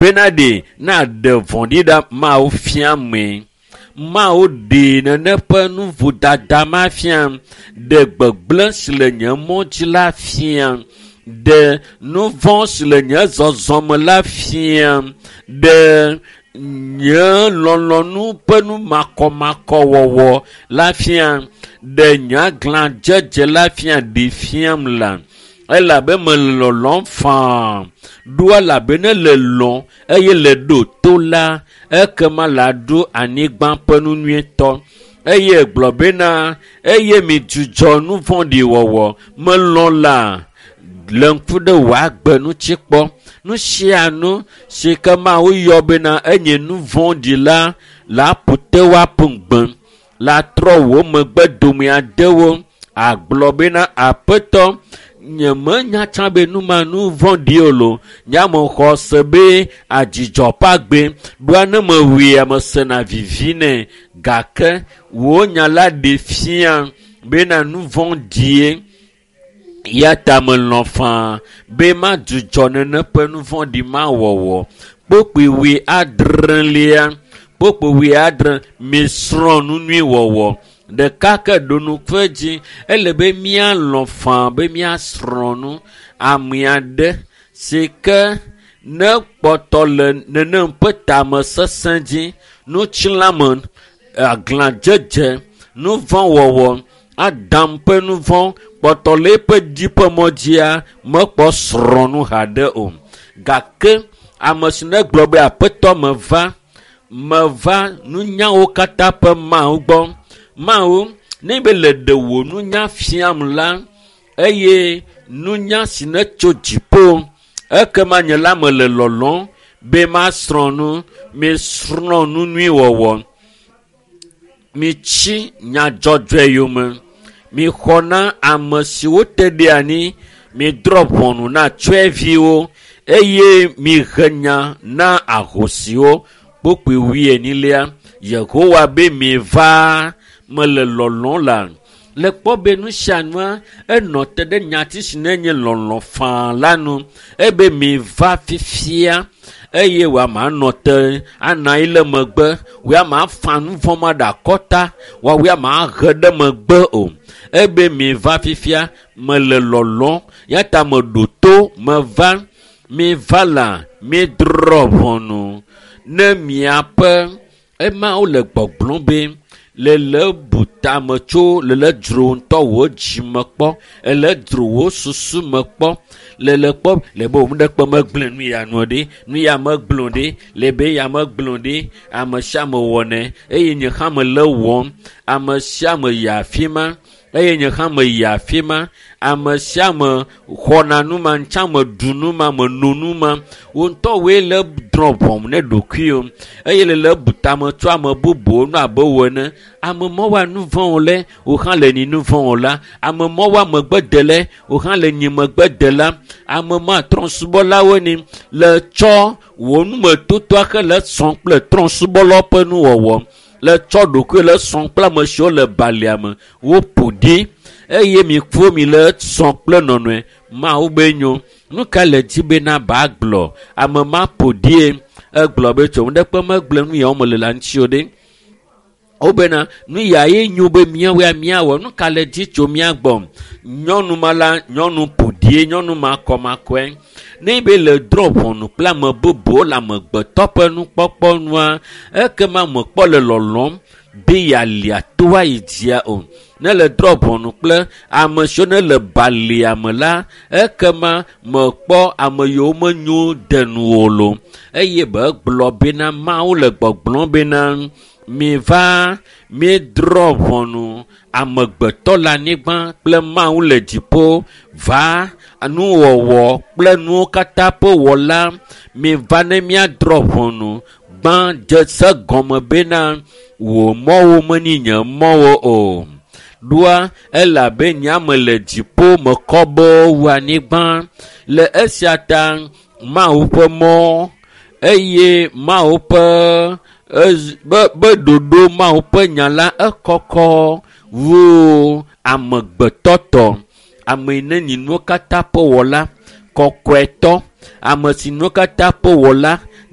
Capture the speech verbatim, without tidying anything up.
Bena ɖe na ɖe vɔ̃ɖi ɖa Mawu fia me. Mawu ɖe nene ƒe nu vodada ma fia. Ɖe gbegblẽ si le nye mɔ dzi la fia. Ɖe nu vɔ̃ si le nye zɔzɔme la fia. Ɖe nye lɔlɔ̃nu ƒe nu makɔmakɔwɔwɔ la fia. Ɖe nye aglãdzedze la fia ɖe fiam la. Elabe mele lɔlɔ̃m faa. Ɖo elabe ne le lɔ̃ eye le ɖo to la, ekema la ɖu anyigba ƒe nu nyuietɔ. Eye gblɔ bena eye mi dzudzɔ nu vɔ̃ɖi wɔwɔ. Melɔ̃ la le ŋku ɖe wò agbe ŋuti kpɔ. Nu sia nu si ke Mawu yɔ bena enye nu vɔ̃ɖi la, la ƒo te woaƒu gbe. La trɔ wò megbe dome adewo. Agblɔ bena aƒetɔ nye menya tsã be nu ma nu vɔ̃ɖi o lo. Nye ame xɔ se be adzidzɔ ƒe agbe. Ɖoa ne mewui ame sena vivi nɛ. Gake wò nya la ɖe fia bena nu vɔ̃ɖie. Ya ta melɔ̃ faa be madzudzɔ nene ƒe nu vɔ̃ɖi ma wɔwɔ. Kpokpui wui adrelia, kpokpui wui adre, misrɔ̃ nu nyui wɔwɔ. Ɖeka ke ɖo nuƒe dzi, ele be míalɔ̃ faa be míasrɔ̃ nu ame aɖe si ke ne kpɔtɔ le nenem ƒe tame sesẽ dzi, nutsilãme, aglãdzedze, nu vɔ̃ wɔwɔ, Adam ƒe nu vɔ̃ kpɔtɔ le eƒe dzi ƒe mɔ dzia mekpɔ srɔ̃ nu haɖe o. Gake ame si ne gblɔ be aƒetɔ meva, meva nunyawo katã ƒe Mawu gbɔ. Mawu, ne be le ɖe wò nunya fiam la, eye nunya si ne tso dziƒo, ekema nye la mele lɔlɔ̃m be masrɔ̃ nu, misrɔ̃ nu nyui wɔwɔ. Mitsi nya dzɔdzɔe yome. Mixɔ na ame siwo te ɖe anyi, midrɔ̃ ʋɔnu na tsyɔ̃eviwo eye mihe nya na ahosiwo. Kpokpui wuienyilia, Yehowa be miva mele lɔlɔ̃ la. Le kpɔ be nu sia nua, enɔ te ɖe nyati si ne nye lɔlɔ̃ faa la nu. Ebe miva fifia eye wòama nɔ te anɔ anyi le megbe. Wòama fa nu vɔ̃ ma ɖe akɔta, wòama he ɖe megbe o. Ebe miva fifia mele lɔlɔ̃ ya ta meɖo to meva. Miva la midrɔ̃ ʋɔnu ne miaƒe ema wole gbɔgblɔm be le le bu tame tso le le dzro ŋutɔ wò dzime kpɔ, ele dzro wò susu me kpɔ, le le kpɔ le be wò ɖekpe megblẽ nu ya nu ɖe, nu ya megblẽ ɖe, le be ya megblẽ ɖe, ame sia ame wɔnɛ eye nye hã mele wɔm, ame sia ame yi afi ma eye nye hã meyi afi ma, ame sia ame xɔna nu ma, ŋtsã meɖu nu ma, meno nu ma. Wò ŋutɔ woe le drɔ̃ ʋɔnu ne ɖokuiwò eye le le bu tame tso ame bubuwo nu abe wò ene. Ame ma woa nu vɔ̃ o le, wò hã le nyi nu vɔ̃ o la. Ame ma woa megbe de le, wò hã le nyi megbe de la. Ame ma trɔ̃subɔlawo ni le tsɔ wò numetotoa xe le sɔ̃ kple trɔ̃subɔlawo ƒe nuwɔwɔ. Le tsɔ ɖokui le sɔ̃ kple ame siwo le balia me. Woƒo ɖi eye mikpo mi le sɔ̃ kple nɔnɔe. Mawu be nyo. Nu ka le dzi bena ba gblɔ? Ame ma ƒo ɖie. Egblɔ be tso ŋɖekpe megblẽ nu ya wome le la ŋuti o ɖe. Wobena nu ya ye nyo be míawoe míawɔ. Nu ka le dzi tso mía gbɔ? Nyɔnu ma la, nyɔnu ƒo ɖie, nyɔnu makɔmakɔe. Ne be le drɔ̃ ʋɔnu kple ame bubuwo le amegbetɔ ƒe nukpɔkpɔ nua, ekema mekpɔ le lɔlɔ̃m be yealia to ayi dzia o. Ne le drɔ̃ ʋɔnu kple ame siwo ne le balia me la, ekema mekpɔ ame yiwo menyo de nu o lo. Eye be gblɔ bena Mawu le gbɔgblɔm bena miva míedrɔ̃ ʋɔnu amegbetɔ le anyigba kple Mawu le dziƒo va nuwɔwɔ kple nuwo katã ƒe wɔla. Miva ne míadrɔ̃ ʋɔnu gbã dze se gɔme bena wò mɔwo menyi nye mɔwo o. Ɖoa elabe nye ame le dziƒo mekɔ be wu anyigba. Le esia ta Mawu ƒe mɔ eye Mawu ƒe be be ɖoɖo Mawu ƒe nya la ekɔkɔ wu amegbetɔ tɔ. Ame yi ne nyi nuwo katã ƒe wɔla, kɔkɔetɔ, ame si nuwo katã ƒe wɔla,